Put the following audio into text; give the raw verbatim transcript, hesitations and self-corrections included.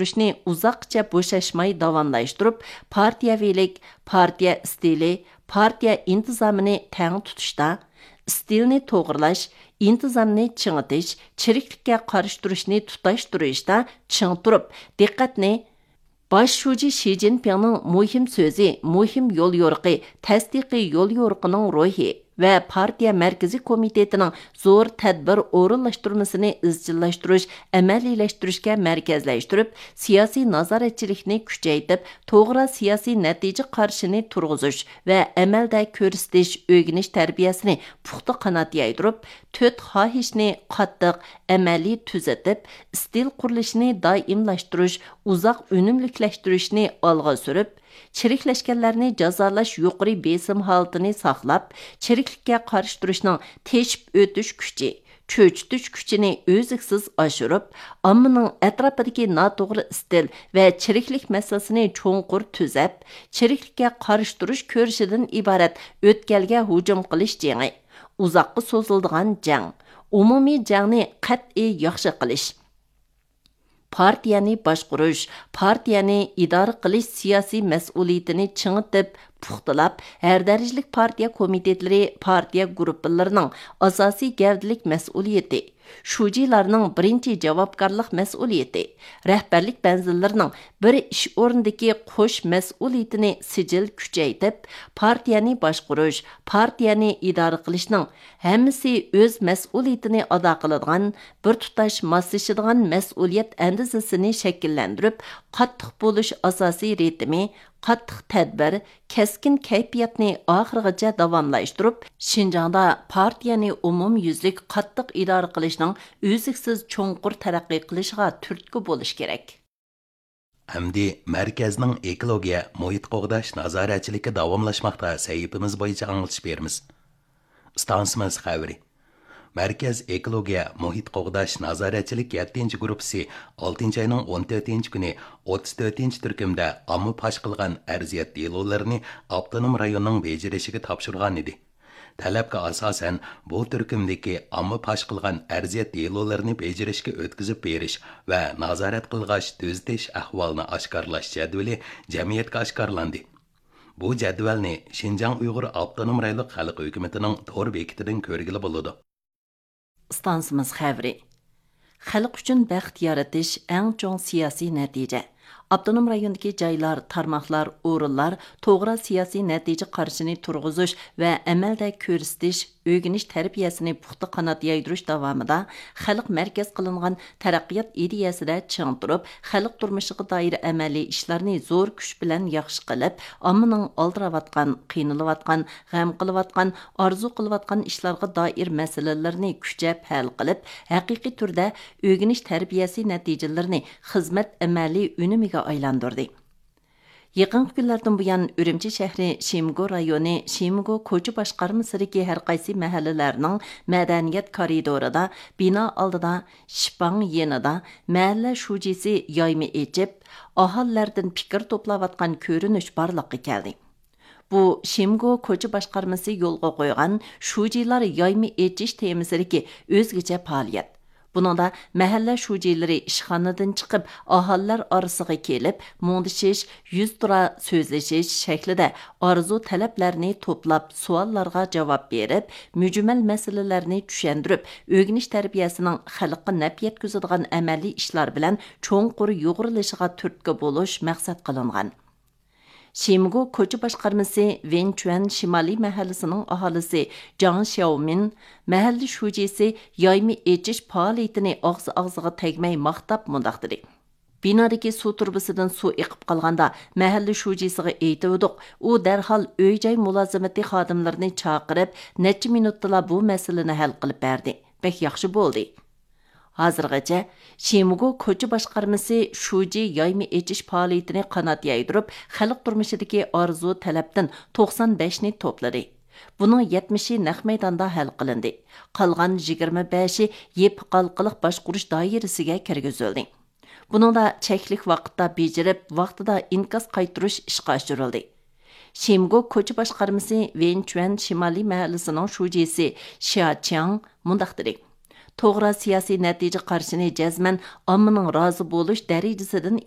ئۇزاققىچە بوشاشماي داۋاملاشتۇرۇپ، پارتىيەۋىلىك، پارتىيە ئىستىلى، پارتىيە ئىنتىزامىنى تەڭ تۇتۇشتا، ئىستىلنى توغرىلاش، ئىنتىزامنى چىڭىتىش، چىرىكلىككە قارشى تۇرۇشنى تۇتاشتۇرۇشتا چىڭ تۇرۇپ، دىققەتنى باش شۇجى شى جىنپىڭنىڭ مۇھىم سۆزى، مۇھىم يوليورۇقى، تەستىقىي يوليورۇقىنىڭ روھى ۋە پارتىيە مەركىزىي كومىتېتىنىڭ زور تەدبىر ئورۇنلاشتۇرمىسىنى ئىزچىللاشتۇرۇش، ئەمەلىيلەشتۈرۈشكە مەركەزلەشتۈرۈپ، سىياسىي نازارەتچىلىكنى كۈچەيتىپ، توغرا سىياسىي نەتىجە قارىشىنى تۇرغۇزۇش ۋە ئەمەلدە كۆرسىتىش، ئۆگىنىش تەربىيەسىنى پۇختا قانات يايدۇرۇپ، تۆت خاھىشنى قاتتىق، ئەمەلىي تۈزىتىپ، ئىستىل قۇرۇلۇشىنى دائىملاشتۇرۇش، ئۇزاق ئۈنۈملۈكلەشتۈرۈشنى ئالغا سۈرۈپ، چىرىكلەشكەنلەرنى جازالاش يۇقىرى بېسىم ھالىتىنى ساقلاپ، چىرىكلىككە قارشى تۇرۇشنىڭ تېشىپ ئۆتۈش كۈچى، چۆچۈتۈش كۈچىنى ئۈزلۈكسىز ئاشۇرۇپ، ئاممىنىڭ ئەتراپىدىكى ناتوغرا ئىستىل ۋە چىرىكلىك مەسىلىسىنى چوڭقۇر تۈزەپ، چىرىكلىككە قارشى تۇرۇش كۈرىشىدىن ئىبارەت ئۆتكەلگە ھۇجۇم قىلىش جېڭى، ئۇزاققا سوزۇلىدىغان جەڭ، ئومۇمىي جەڭنى قەتئىي ياخشى قىلىش، پارتىيەنى باشقۇرۇش، پارتىيەنى ئىدارە قىلىش سىياسىي مەسئۇلىيىتىنى چىڭىتىپ، پۇختىلاپ، ھەر دەرىجىلىك پارتىيە كومىتېتلىرى، پارتىيە گۇرۇپپىلىرىنىڭ ئاساسىي گەۋدىلىك مەسئۇلىيىتى، شۇجىلارنىڭ بىرىنچى جاۋابكارلىق مەسئۇلىيىتى، رەھبەرلىك مەنزىللىرىنىڭ بىر ئىش ئورنىدىكى قوش مەسئۇلىيىتىنى سىجىل كۈچەيتىپ، پارتىيەنى باشقۇرۇش، پارتىيەنى ئىدارە قىلىشنىڭ ھەممىسى ئۆز مەسئۇلىيىتىنى ئادا قىلىدىغان، بىر تۇتاش ماسلىشىدىغان مەسئۇلىيەت ئەندىزىسىنى شەكىللەندۈرۈپ، قاتتىق بولۇش ئاساسىي رىتىمى، قاتتىق تەدبىر، كەسكىن كەيپىياتنى ئاخىرغىچە داۋاملاشتۇرۇپ، شىنجاڭدا پارتىيەنى ئومۇميۈزلۈك قاتتىق ئىدارە قىلىشنىڭ ئۈزلۈكسىز چوڭقۇر تەرەققىي قىلىشىغا تۈرتكە بولۇش كېرەك. ئەمدى مەركەزنىڭ ئېكولوگىيە، مۇھىت قوغداش نازارەتچىلىكى داۋاملاشماقتا سەھىپىمىز بويىچە ئاڭلىتىش بېرىمىز. ئىستانسىمىز خەۋىرى. مەركەز ئېكولوگىيە، مۇھىت قوغداش نازارەتچىلىك يەتتىنچى گۇرۇپپىسى ئالتىنچى ئاينىڭ ئون تۆتىنچى كۈنى ئوتتۇز تۆتىنچى تۈركۈمدە ئامما پاش قىلغان ئەرزىيەت دېلولىرىنى ئاپتونوم رايوننىڭ بېجىرىشىگە تاپشۇرغانىدى. تەلەپكە ئاساسەن، بۇ تۈركۈمدىكى ئامما پاش قىلغان ئەرزىيەت دېلولىرىنى بېجىرىشكە ئۆتكۈزۈپ بېرىش ۋە نازارەت قىلغاچ تۈزىتىش ئەھۋالىنى ئاشكارىلاش جەدۋىلى جەمئىيەتكە ئاشكارىلاندى. بۇ جەدۋەلنى شىنجاڭ ئۇيغۇر ئاپتونوم رايونلۇق خەلق ھۆكۈمىتىنىڭ تور بېكىتىدىن كۆرگىلى بولىدۇ. ئىستانسىمىز خەۋىرى. خەلق ئۈچۈن بەخت يارىتىش ئەڭ چوڭ سىياسىي نەتىجە. ئاپتونوم رايوندىكى جايلار، تارماقلار، ئورۇنلار توغرا سىياسىي نەتىجە قارىشىنى تۇرغۇزۇش ۋە ئەمەلدە كۆرسىتىش، ئۆگىنىش تەربىيەسىنى پۇختا قانات يايدۇرۇش داۋامىدا خەلق مەركەز قىلىنغان تەرەققىيات ئىدىيەسىدە چىڭ تۇرۇپ، خەلق تۇرمۇشىغا دائىر ئەمەلىي ئىشلارنى زور كۈچ بىلەن ياخشى قىلىپ، ئاممىنىڭ ئالدىراۋاتقان، قىينىلىۋاتقان، غەم قىلىۋاتقان، ئارزۇ قىلىۋاتقان ئىشلارغا دائىر مەسىلىلىرىنى كۈچەپ ھەل قىلىپ، ھەقىقىي تۈردە ئۆگىنىش تەربىيەسى نەتىجىلىرىنى خىزمەت ئەمەلىي ئۈنۈمىگە ئايلاندۇردى. يېقىنقى كۈنلەردىن بۇيان، ئۈرۈمچى شەھىرى شىمگو رايونى شىمگو كوچا باشقارمىسىدىكى ھەرقايسى مەھەللىلەرنىڭ مەدەنىيەت كارىدورىدا، بىنا ئالدىدا، شىپاڭ يېنىدا مەھەللە شۇجىسى يايما ئېچىپ، ئاھالىلەردىن پىكىر توپلاۋاتقان كۆرۈنۈش بارلىققا كەلدى. بۇ شىمگو كوچا باشقارمىسى يولغا قويغان شۇجىلار يايما ئېچىش تېمىسىدىكى ئۆزگىچە پائالىيەت. بۇنىڭدا مەھەللە شۇجىلىرى ئىشخانىدىن چىقىپ، ئاھالىلەر ئارىسىغا كېلىپ، مۇڭدىشىش، يۈزتۇرا سۆزلىشىش شەكلىدە ئارزۇ تەلەپلەرنى توپلاپ، سوئاللارغا جاۋاب بېرىپ، مۈجمەل مەسىلىلەرنى چۈشەندۈرۈپ، ئۆگىنىش تەربىيەسىنىڭ خەلققە نەپ يەتكۈزىدىغان ئەمەلىي ئىشلار بىلەن چوڭقۇر يۇغۇرۇلۇشىغا تۈرتكە بولۇش مەقسەت قىلىنغان. شىمگو كوچا باشقارمىسى ۋېنچۈەن شىمالىي مەھەللىسىنىڭ ئاھالىسى جاڭ شياۋمىن مەھەللە شۇجىسى يايما ئېچىش پائالىيىتىنى ئاغزى ئاغزىغا تەگمەي ماختاپ مۇنداق دېدى: بىنادىكى سۇ تۇرۇبىسىدىن سۇ ئېقىپ قالغاندا، مەھەللە شۇجىسىغا ئېيتىۋىدۇق، ئۇ دەرھال ئۆي-جاي مۇلازىمىتى خادىملىرىنى چاقىرىپ، نەچچە مىنۇتتىلا بۇ مەسىلىنى ھەل قىلىپ بەردى. بەك ياخشى بولدى. ھازىرغىچە شىمگو كوچا باشقارمىسى شۇجى يايما ئېچىش پائالىيىتىنى قانات يايدۇرۇپ، خەلق تۇرمۇشىدىكى ئارزۇ تەلەپتىن توقسان بەشنى توپلىدى. بۇنىڭ يەتمىشى نەق مەيداندا ھەل قىلىندى. قالغان يىگىرمە بەشى يېپىق ھالقىلىق باشقۇرۇش دائىرىسىگە كىرگۈزۈلدى. بۇنىڭدا چەكلىك ۋاقىتتا بېجىرىپ، ۋاقتىدا ئىنكاس قايتۇرۇش ئىشقا ئاشۇرۇلدى. شىمگو كوچا باشقارمىسى ۋېنچۈەن شىمالىي مەھەللىسىنىڭ شۇجىسى شيا چياڭ مۇنداق دېدى: توغرا سىياسىي نەتىجە قارىشىنى جەزمەن ئاممىنىڭ رازى بولۇش دەرىجىسىدىن